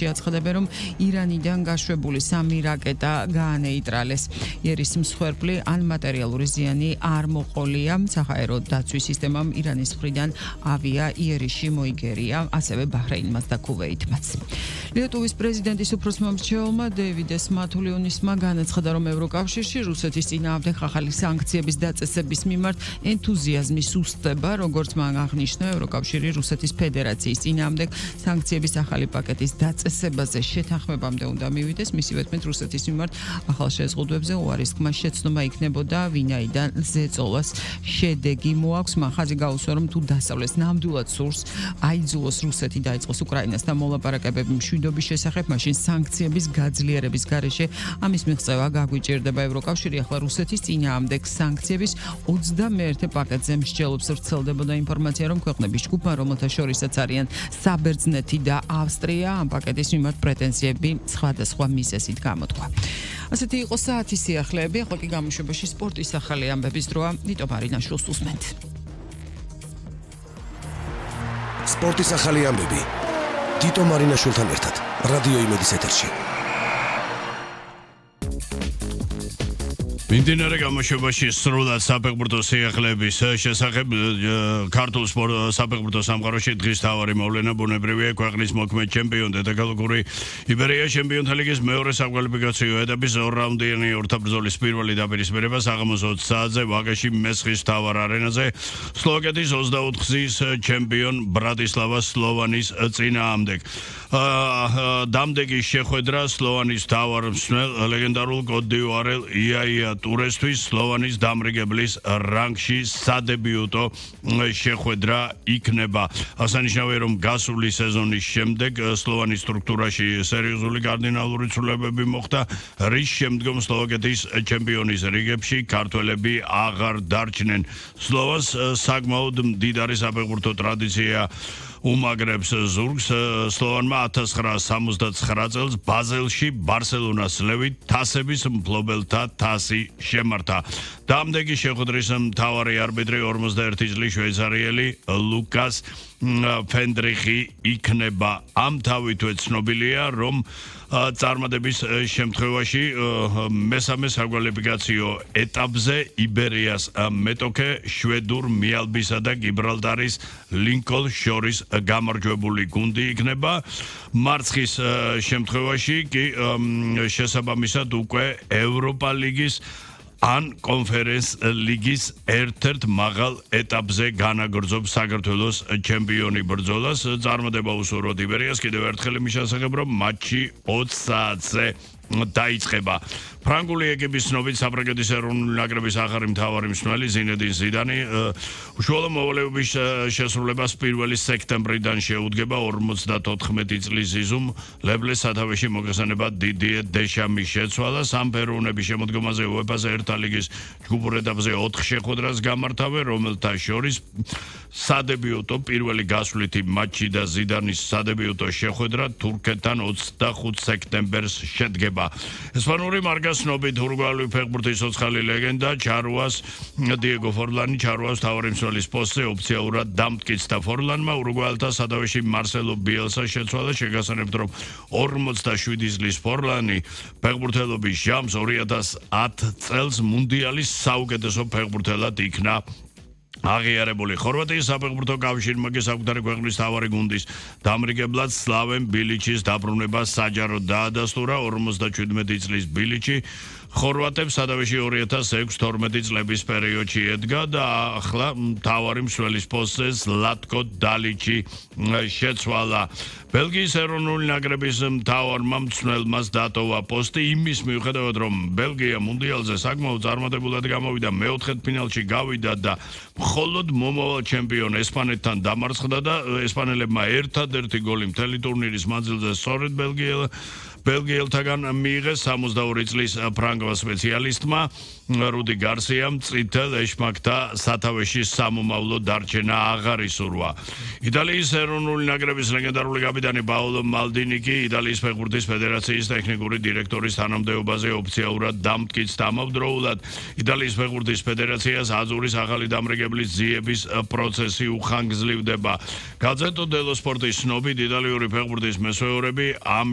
შეაცხადებენ, რომ ირანიდან გაშვებული 3 რაკეტა გაანეიტრალეს. იერის მსხვერპლი ან მატერიალური ზიანი არ მოყოლია. საჰაერო დაცვის სისტემამ ირანის მხრიდან ავია იერიში მოიგერია, ასევე ბაჰრეინმაც და ქუვეითმაც. ლიტვის პრეზიდენტის უფროსმომრჩეველმა დეივიდ მათულიონისმა განაცხადა, რომ ევროკავშირში რუსეთის წინააღმდეგ ახალი სანქციების დაწესების მიმართ ენთუზიაზმი სუსტდება, როგორც მან აღნიშნა, ევროკავშირი რუსეთის ფედერაციის წინააღმდეგ სანქციების ახალი პაკეტის დაწესებაზე შეთანხმებამდე უნდა მივიდეს. მისივე თქმით, რუსეთის მიმართ ახალ შეზღუდვებზე უარისხმა შეცდომა იქნებოდა, ვინაიდან ზეწოლას შედეგი მოაქვს. მან ხაზი გაუსვა, რომ თუ დასავლეთს ნამდვილად სურს აიძულოს რუსეთი დაიწყოს უკრაინასთან მოლაპარაკებები მშვიდობის შესახებ, მაშინ სანქციების გაძლიერების გარეშე ამის მიღწევა გაგვიჭირდება. ევროკავშირი ახლა რუსეთის წინააღმდეგ სანქციების 21 პაკეტზე მსჯელობს. ვრცელდებოდა ინფორმაცია, რომ ქვეყნების ჯგუფმა, რომელთა შორისაც არიან საბერძნეთი და ავსტრია, ამ პაკეტის მიმართ პრეტენზიები სხვადასხვა მიზეზით გამოთქვა. ასეთი იყო საათის სიახლეები, ახლა კი გამოშვებაში სპორტის ახალი ამბების დროა. ნიტო მარინაშვილს უსმენთ. სპორტის ახალი ამბები. ნიტო მარინაშვილთან ერთად რადიო იმედის ეთერში. მიმდინარე გამოშვებაში სრულად საფეხბურთო სიახლეების შესახებ ქართულ საფეხბურთო სამყაროში დღის მთავარი მოვლენა ბუნებრივია ქვეყნის მოქმედ ჩემპიონ დედაქალაქური იბერია ჩემპიონთა ლიგის მეორე საკვალიფიკაციო ეტაპის ორ-რაუნდიანი ორთაბრძოლის პირველი დაპირისპირება საღამოს 20 საათზე ვაკეში მესხის მთავარ არენაზე სლოვაკეთის 24 ხაზის ჩემპიონ ბრატისლავა სლოვანის წინააღმდეგ. დამდეგი შეხვედრა სლოვანის მთავარ მსმელ ლეგენდარულ კოტ-დ'ივუარელ იაია ტურესთვის სლოვანის დამრიგებლის რანგში სადებიუტო შეხვედრა იქნება. აღსანიშნავია, რომ გასული სეზონის შემდეგ სლოვანის სტრუქტურაში სერიოზული კარდინალური ცვლილებები მოხდა, რის შემდგომ სლოვაკეთის ჩემპიონის რიგებში ქართველები აღარ დარჩნენ. სლოვას საკმაოდ მდიდარი საფეხბურთო ტრადიცია უმაგრებს ზურგს. სლოვანმა 1969 წელს ბაზელში ბარსელონას ლევით თასების მფლობელთა თასი შემართა. დამდეგი შეხვედრის მთავარი არბიტრი 51 წლის შვეიცარიელი ლუკას ფენდრიხი იქნება. ამ თავითვე ცნობილია, რომ წარმატების შემთხვევაში მესამე საკვალიფიკაციო ეტაპზე იბერიას მეტოქე შვედურ მიალბისა და გიბრალტარის ლინკოლ შორის გამარჯვებული გუნდი იქნება. მარცხის შემთხვევაში კი შესაბამისად უკვე ევროპა ლიგის ან კონფერენს ლიგის ერთ-ერთ მაღალ ეტაპზე განაგრძობს საქართველოს ჩემპიონი ბრძოლას. წარმატება უსურვოთ იბერიას. კიდევ ერთხელ იმის შესახებ, რომ მატჩი 20 საათზე დაიწყება. ფრანგული ეკიპის ცნობით საფრანგეთის ეროვნული ნაკრების ახალი მთავარი მსმელი ზინედინ ზიდანი უშუალო მოვალეობის შესრულებას 1 სექტემბრიდან შეუდგება 54 წლის ზიზუმ ლებლეს სათავეში მოგესალმება დიდიე დეშამის შეცვალა. სამფეროვნების შემოდგომაზე უეფა-ზე ერთა ლიგის ჯგუფურ ეტაპზე 4 შეხვედრას გამართავენ, რომელთა შორის სადებიუტო პირველი გასვლითი მატჩი და ზიდანის სადებიუტო შეხვედრა თურქეთთან 25 სექტემბერს შედგება. ესპანური მარკას ცნობით ურუგვაიელი ფეხბურთის ცოცხალი ლეგენდა ჩარუას დიეგო ფორლანი ჩარუას მთავარი მსმელის პოსტზე ოფიციალურად დამტკიცდა. ფორლანმა ურუგვაელთა სათავეში მარსელო ბიელსა შეცვალა. შეგასწრებთ, რომ 47 წლის ფორლანი ფეხბურთელობის ჟამს 2010 წელს მუნდიალის საუკეთესო ფეხბურთელად იქნა აღიარებული. ხორვატიის საფეხბურთო კავშირმა კი საკუთარი ქვეყნის მთავარი გუნდის დამრიგებლად სლავენ ბილიჩის დაბრუნება საჯაროდ დაადასტურა. 57 წლის ბილიჩი ხორვატებს სათავეში 2006-12 წლების პერიოდში ედგა და ახლა მთავარი მსმელის პოსტზე ზლატკო დალიჩი შეცვალა. ბელგიის ეროვნული ნაკრების მთავარმა მსმელმაც დატოვა პოსტი იმის მიუხედავად, რომ ბელგია მუნდიალზე საკმაოდ წარმატებულად გამოვიდა, მეოთხედფინალში გავიდა და მხოლოდ მომავალ ჩემპიონ ესპანეთთან დამარცხდა და ესპანელებმა ერთადერთი გოლი მთელი ტურნირის მანძილზე სწორედ ბელგიელთაგან მიიღეს. 62 წლის ფრანგ ფრანგულ სპეციალისტმა რუდი გარსიამ წითელ ეშმაკთა სათავეში სამომავლო დარჩენა აღარ ისურვა. იტალიის ეროვნული ნაკრების ლეგენდარული კაპიტანი პაოლო მალდინი კი იტალიის ფეხბურთის ფედერაციის ტექნიკური დირექტორის თანამდებობაზე ოფიციალურად დამტკიც დამავდროულად იტალიის ფეხბურთის ფედერაციას აზურის ახალი დამრიგებლის ძიების პროცესი უხანგრძლივდება. გაზეტო დელო სპორტის ცნობით იტალიური ფეხბურთის მესვეურები ამ